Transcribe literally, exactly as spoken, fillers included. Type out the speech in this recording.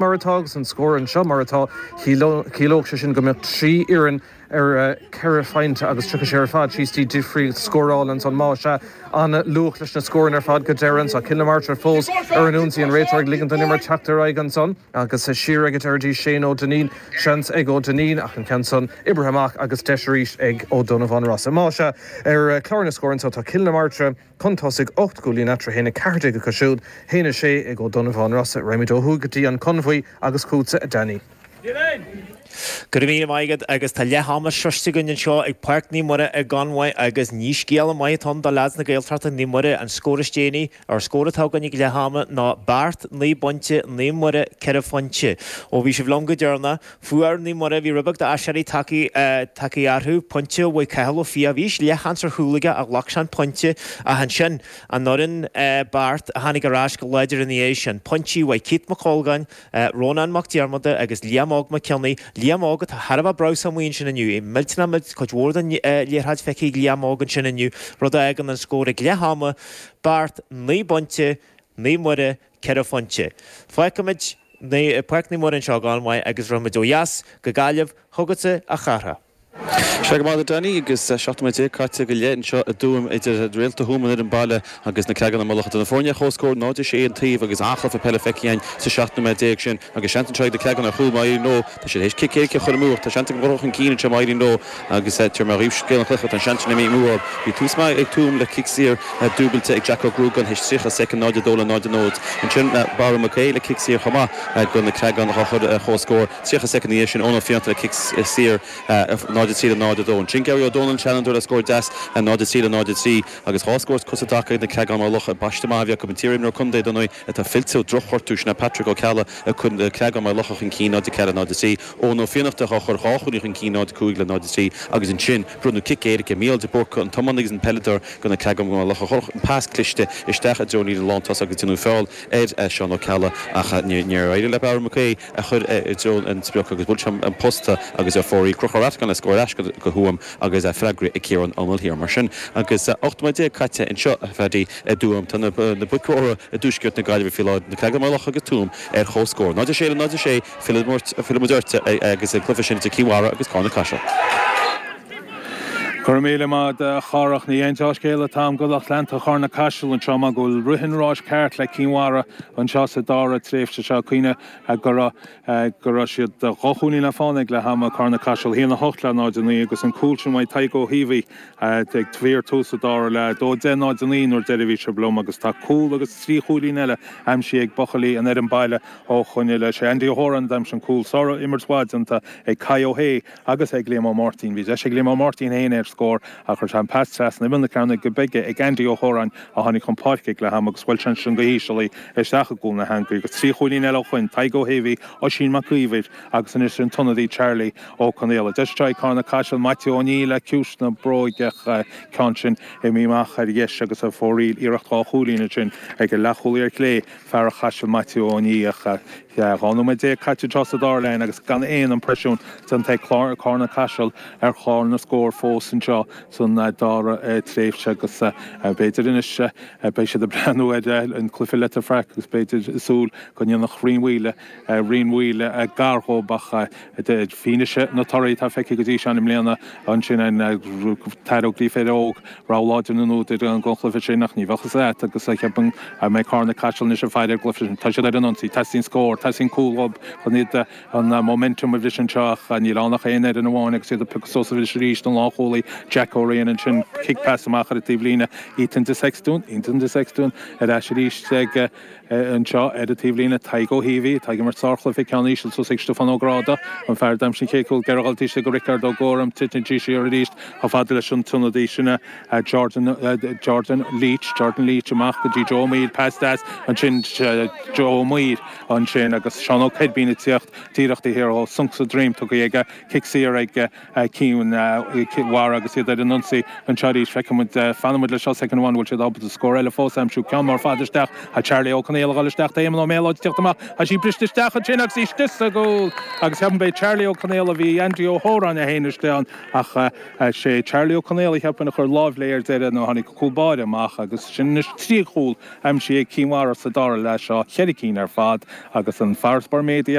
Mar atá agus an scór anseo mar atá, chiallódh sé sin go mbeadh trí fhoireann ar ceithre phointe agus tríocha sé ar fad síos dtí difríocht scórála ansan. Más ea, an-luach leis na scóranna ar fad go deireadh anso. Cill na Martra fós ar an ionsaí, an réiteoir ag ligean don imirt teacht ar aghaidh ansan agus siar ag an deireadh dtí Shane Ó Duinnín. Seans ag Ó Duinnín ach an ceann san oibrithe amach agus deis arís ag Ó Donnabháin Rossa. Más ea, ar chlár na scór anso tá Cill na Martra chun tosaigh ocht gcúilín eatarthu, a haon a ceathair déag acu siúd, a haon a sé ag Ó Donnabháin Rossa. Raghaimid ó thuaidh go dtí an Conmhaí agus chugatsa, a Danny. Go raibh míle maith agat agus tá leath ama sroiste againn anseo ag Páirc Naomh Muire i gConmhaigh agus ní scéala maith atá ann do leaids na Gaeltachta, Naomh Muire, an scór is déanaí, ar scór atá againn ag leath ama ná beart naoi bpointe, Naomh Muire ceithre phointe. Ó bhí sibh liom go deireanach, fuair Naomh Muire, bhí rud beag d'aiséirí tagtha orthu, pointe uaidh Cathal Ó Fiaich, bhí leathsheans ar chúl aige ach ghlac sé an pointe ach ansin an fhoireann beart a tháinig ar ais go láidir ina dhiaidh sin, pointí uaidh Keith Mac Colgáin, Rónán Mac Diarmada agus Liam Óg Mac Cionnaith, Liam Óg atá thar a bheith breabhsánach amuigh ansin inniu, é millteanach millteanach, cuid mhór den liathróid feicthe ag Liam Óg ansin inniu, rud a fhágann an scór ag leath ama, beart naoi bpointe, Naomh Muire ceithre phointe. Fágfaimid Páirc Naomh Muire anseo i gConmhaigh agus rachaimid ó dheas go Gaillimh chugatsa a Chárthaigh. Sea go maith a Danny agus seacht nóiméad déag caite go leith anseo i dTuaim idir Réalta Thuama an fhoireann baile agus na Creagáin Maigh Locha. Tá na foirne ar comhscór náid a sé an taobh agus an-chluiche peile feicthe againn sa seacht nóiméad déag sin agus seans anseo ag na Creagáin ar chúl má éiríonn leo. Tá siad théis cic éirice a chur amú ach tá seans ag dul chun cinn anseo má éiríonn leo agus tabharfaidh mé dhaoibh scéal an chluiche tá an seans sin imithe amú orthu. Bhí tús maith ag Tuaim le cic saor dúbailte ag Jack Ó Gruagáin théis tríocha soicind náid a dó le náid a náid. Ansin Barra Mac Aodha le cic saor chomh maith do na Creagáin á chur ar comhscór. tríocha soicind ina dhiaidh sin Eoin Ó Fiannachta le cic saor náid a trí le náid a dó. Ansin Gary Ó Dónaill an Seanfhondúir le scór deas náid a trí le náid a trí agus dhá scór is cosa i dtaca ag na Creagáin Maigh Locha. Paiste maith a bhí acu an t-iarimreoir contae dar ndóigh atá fillte ó dhrochghortú sin é Patrick Ó Ceallaigh ag cur na Creagáin Maigh Locha chun cinn náid a ceathair náid a trí. Eoin Ó Fiannachta á chur dhá chúilín chun cinn náid a cúig le náid a trí agus ansin bronnadh cic éirice Mícheál de Búrca an tiománaí agus an peileadóir do na Creagáin Maigh Locha. Chuir an pas cliste isteach i dtreo an líne lántosach agus déanadh feall ar Seán Ó Ceallaigh ach níor éirigh le Barra Mac Aodha a chur i dtreo an sprioc agus bhuail sé an posta agus ar fóraoil. Conchúr Rafgan le scór ar ais go Tuaim agus freagraithe ag Ciarán Ó Maolsheoir. Mar sin agus ocht nóiméad déag caite anseo a Phaddy i dTuaim tá na boic mhóra i dtuaisceart na Gaillimhe faoi láthair, na Creagáin Maigh Locha agus Tuaim ar comhscór. náid a sé le náid a sé, fillfidh muid ort agus an cluiche sin idir Cill Mhara agus Carna Caiseal. Go raibh míle maith agat a Chárthach. Ní aon dea-scéal atá agam do lucht leanta Charna Caiseal anseo mar go bhfuil rith an ráis ceart le Cinn Mhara anseo sa dara tréimhse seo. Cuimhnigh go raibh go raibh siad dhá chúilín le fána ag leath ama, Carna Caiseal, a haon a hocht le náid a naoi agus an cúl sin uaidh Tadhg Ó hÍomhaí ag fíor-tús an dara leath, a dó deich náid a naoi nuair deiridh a bhí sibh liom agus tá cúl agus trí chúilín eile aimsithe ag buachaillí an fhoireann baile ó shoin i leith. Sé Andy Ó hÓráin a d'aimsigh an cúl. Sár-imirt mhaith déanta ag Kai Ó hAodha agus ag Liam Ó Máirtín. Bhí deis ag Liam Ó Máirtín féin ar scór ach chuir sé an pas trasna imeall na cearnóige bige ag Andy Ó hÓráin a tháinig chun páirce ag leath ama agus bhuail sé ansin go híseal í isteach i gcúl na heangaí agus trí chúilín eile ó shoin, Tadhg Ó hÉimhí, Oisín Mac Íomhair agus anois an t-ionadaí Charlie Ó Conaola. Deis anseo ag Carna Caiseal, Maitiú Ó Néill le ciumhais na bróige ach ceann sin imithe amach ar dheis agus ar fóraoil iarracht dhá chúilín ansin ag an leathchúlaí ar chlé, fear Chaisil Maitiú Ó Nia ach dhá nóiméad déag caite anseo sa dara leath agus gan aon impreisiún déanta ag Carna Caiseal ar chlár na scór fós anseo san dara tréimhse agus b'fhéidir anois beidh siad ag breathnú ar an cluiche Leitir Fraic agus b'fhéidir ag súil go ndéanfadh Rinn Mhaoile Rinn Mhaoile gar dhóibh ach fianaise na torthaí atá feicthe go dtí seo i mbliana ansin an tAthair Ó Gríféir Óg Rogha láidir na n-údar don chluiche sin ach ní bheadh fhios agat agus cheapfainn go mbeidh Carna Caiseal anois ag faire ar an gcluiche sin. Tá siad ar an ionsaí, teastaíonn scór, teastaíonn cúl uathu chun iad an momentum a bhriseadh anseo ach níl ann ach aon fhoireann amháin agus iad ag piocadh suas arís arís don lánchúlaí Jack O'Riain ansin cic pas amach ar an taobhlíne Ethan de Sextún, Ethan de Sextún ar ais arís ag anseo ar an taobhlíne Tadhg Ó hÍomhaí atá ag imirt sárchluiche ceann íseal suas ag Stiofán Ó Gráda, an fear a d'aimsigh an chéad chúl ag gabháil istigh go Riceard Ó Góraim, titeann sí siar arís chomh fada leis an t-ionadaí sin Jordan Jordan Leach Jordan Leach amach go dtí Joe Ó Maoil, pas deas ansin Joe Ó Maoil ansin agus Seán Ó Coirbín ag tíocht díreach taobh thiar dhó, sonc sa droim tugtha aige, cic saor ag Cinn Mhara agus iad ar an ionsaí anseo arís. Feicfidh muid, fanfaidh muid leis seo soicind amháin, bhfuil siad ábalta scór eile fós a aimsiú. Ceann mór fada isteach, tá Charlie Ó Conaola ag dul isteach, tá Éamonn Ó Méalóid ag tíocht amach, tá sí briste isteach ansin agus í istigh sa gcúl agus cheapfainn b'é Charlie Ó Conaola, bhí Andy Ó hÓráin é féin istigh ann ach sé Charlie Ó Conaola cheapfainn a chuir lámh léi ar deireadh nó tháinig an cúl báire amach agus sin anois trí chúl aimsithe ag Cinn Mhara sa dara leath seo, ceithre cinn ar fad agus san farasbarr méadaithe.